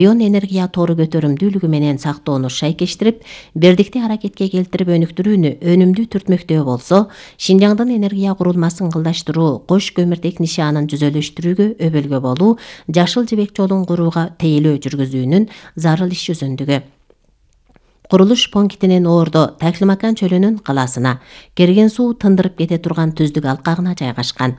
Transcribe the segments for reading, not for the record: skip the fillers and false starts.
Ион энергия тору көтөрүмдүүлүгү менен сактоону шайкештирип, бирдикти аракетке келтирип өнүктүрүүнү өнүмдүү түртмөктөө болсо, Шинжаңдын энергия курулмасын кылдаштыруу, кош көмүртек нишанын жүзөлөштүрүүгө өбөлгө болуу, жашыл жибек жолун курууга тейлөө жүргүзүүнүн зарыл иш жүзүндүгү. Курулуш пунктинин Ордо Таклимакан чөлүнүн калаасына, керген суу тындырып кете турган түздүк алкагына жайгашкан.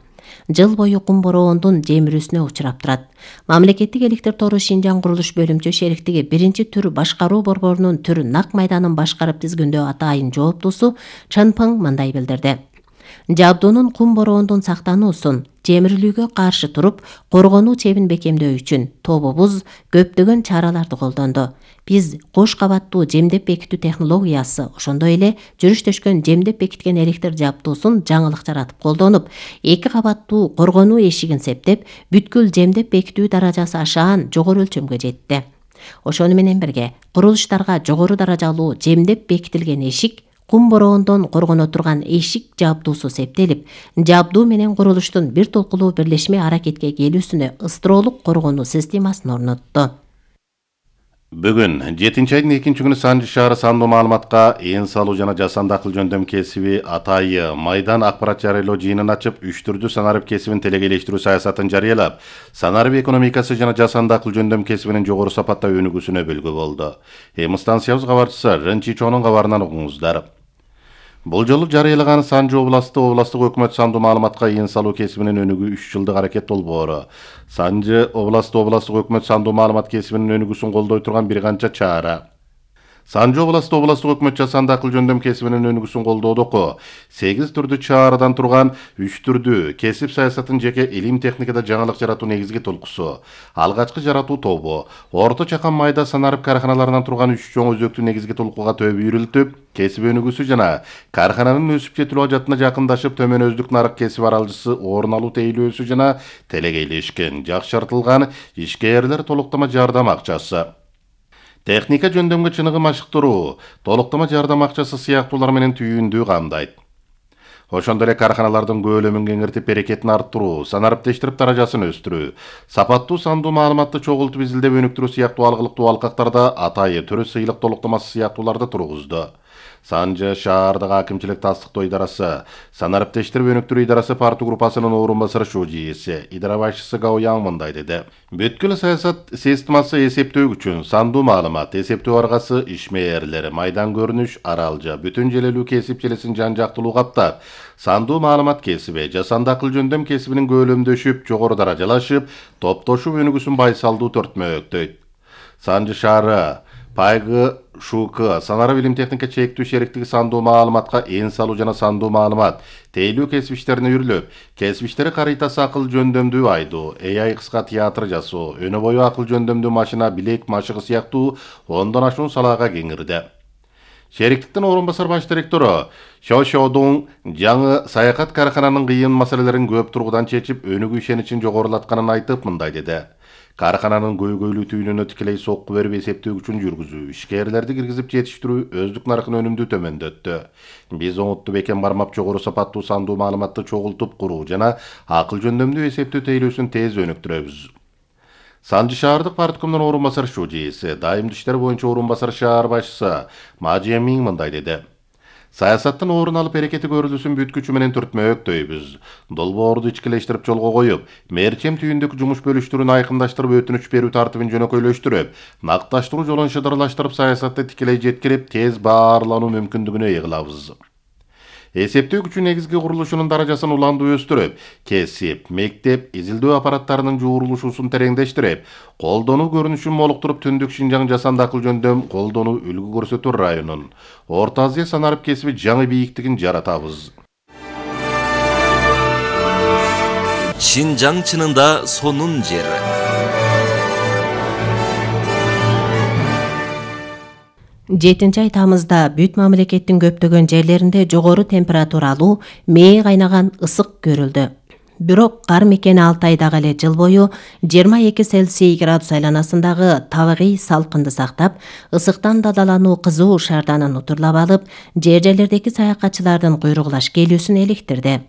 Жыл бою кум бороондун жемирүүсүнө учурап турат. Мамлекеттик электр тору Шинжаң курулуш бөлүмчө шериктиги 1-түр башкаруу борборунун түр нак майданын башкарып тизгиндөө атайын жооптуусу Чын Пың мындай билдирди. Жабдуунун кум бороондун сактануусун, жемирилүүгө каршы туруп, коргонуу чебин бекемдөө үчүн тобубуз көптөгөн чараларды колдонду. Биз кош кабаттуу жемдеп бекитүү технологиясы, ошондой эле жүрүш төшкөн жемдеп бекиткен электр жабдуусун жаңылык жаратып колдонуп, 2 кабаттуу коргонуу эшигин септеп, бүткүл жемдеп бекитүү даражасы ашаан жогору өлчөмгө жетти. Ошону менен бирге, курулуштарга жогору даражалуу жемдеп бекитилген эшик, кум бороондон коргоно турган эшик жабдуусу септелип, жабдуу менен курулуштун бир толкулуу бирлешме аракетке келүүсүнө ыстыроолук коргонуу системасын орнотту. Бүгүн 7-айдын 2-күнү Санжы шаары сандуу маалыматка ээн салуу жана жасанды акыл жөндөм кесиби атайы майдан акпарат жарыялоо жыйынын ачып, 3 түрдүү санарып кесибин телегейлештирүү саясатын жарыялап, санарып экономикасы жана жасанды акыл жөндөм кесибинин жогору сапатта өнүгүүсүнө өбөлгө болду. Станциябыз кабарчысы Рынчичонун кабарынан угуңуздар. Бул жолу жарыялаган Санжы областык өкмөт сандуу маалыматка ээн салуу кесибинин өнүгүү 3 жылдык аракет долбоору. Санжы областык өкмөт сандуу маалымат кесибинин өнүгүүсүн колдой турган бир канча чара. Санжы областык өкмөт жасанды акыл жөндөм кесибинин өнүгүүсүн колдоодогу 8 түрдүү чараадан турган 3 түрдүү кесип саясатын жеке илим техникада жаңылык жаратуу негизги толкусу, алгачкы жаратуу тобу, орто чакан майда санарып карханаларынан турган 3 чоң өзөктү негизги толкууга төбүрүлтүп, кесип өнүгүүсү жана кархананын өсүп жетилүү ажатына жакындашып төмөнөздүк нарык кесип аралжысы орун алуу тейлөөсү жана телегейлешкен, жакшыртылган ишкерлер толуктама жардам акчасы. Техника жөндөмгө чыныгы машыктыруу, толуктама жардам акчасы сыяктуулар менен түйүндүү камдайт. Ошондой эле карханалардын көлөмүн кеңиртип, берекетин арттыруу, санариптештирип даражасын өстүрүү, сапаттуу сандуу маалыматты чогултуп изилдеп өнүктүрүү сыяктуу алгылыктуу алкактарда атайы түрү сыйлык толуктамасы сыяктууларды тургузду. Санжы шаардагы акимчилик тастыктоо идарасы, санариптештирип өнүктүрүү идарасы партия группасынын орун басары шужийси, идара башчысы Гао Яң мындай деди. Бүткүл саясат системасы эсептөө үчүн сандуу маалымат, эсептөө аргасы, ишмээрлер, майдан көрүнүш, аралжа, бүтүн желелүү кесип желесин жан-жактылуу каптап, сандуу маалымат кесиби, жасанды акыл жөндөм кесибинин көлөмдөшүп, жогору даражалашып, топтошуп өнүгүүсүн байсалдуу төртмөктөйт. Санжы шаары Пайгы ШУК санарып илим техника чектүү шериктиги сандуу маалыматка ээн салуу жана сандуу маалымат тейлүү кесип иштерине үрүлүп, кесип иштери карыйтасы акыл жөндөмдүү айдоо, AI кыска театр жасоо, өнө бою акыл жөндөмдүү машина, билек машыгы сыяктуу 10дон ашуун салаага кеңирди. Шериктиктин орун басар баш директору Шошодун жаңы саякат кархананын кыйын маселелерин көп тургудан чечип, өнүгүү ишеничин жогорулатканын айтып мындай деди. Кархананын көйгөйлүү түйүнүнө тикелей сокку берип эсептөө күчүн жүргүзүү, ишкерлерди киргизип жетиштирүү өздүк наркын өнүмдүү төмөндөттү. Биз оңуттуу бекем бармап жогору сапаттуу сандуу маалыматты чогултуп куруу жана акыл жөндөмдүү эсептөө тейлөөсүн тез өнүктүрөбүз. Санжы шаардык парткомдун орун басары шужийси, дайымдуу иштер боюнча орун басары шаар башчысы Мажемин мындай деди. Саясаттын орун алып аракети көрүлүүсүн бүткүчү менен түртмөктөйбүз. Долбоорду ичкилештирип жолго коюп, мээрчем түйүндөгү жумуш бөлүштүрүүнү айкындаштырып, өтүнүч берүү тартибин жөнөкөйлөштүрүп, накташтыруу жолун шыдырлаштырып, саясатты тикелей жеткирип, тез баарлануу мүмкүндүгүнө ээ кылабыз. Эсептөө күчү негизги курулушунун даражасын уландуу өстүрүп, кесип, мектеп, изилдөө аппараттарынын жуурулушуусун тереңдештирип, колдонуу көрүнүшүн молуктуруп, Түндүк Шинжаң жасанды акыл жөндөм колдонуу үлгү көрсөтүү районун, Орто Азия санарып кесиби жаңы бийиктигин жаратабыз. Шинжаң чынында сонун жери. Ай тамызда бүт мамлекеттин көптөгөн жерлеринде жогору температуралуу, мээ кайнаган ысык көрүлдү. Бирок кар мекени Алтайдагы эле жыл бою 22 Цельсий градус айланасындагы табигый салкынды сактап, ысыктан дадалануу кызуу шаарданын утурлап алып, жерлердеги саякатчылардын куйругулаш келүүсүн эликтирди.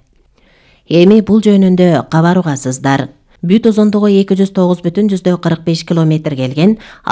Эми бул жөнүндө кабар угасыздар. бүт узундугу 209,45 километр келген.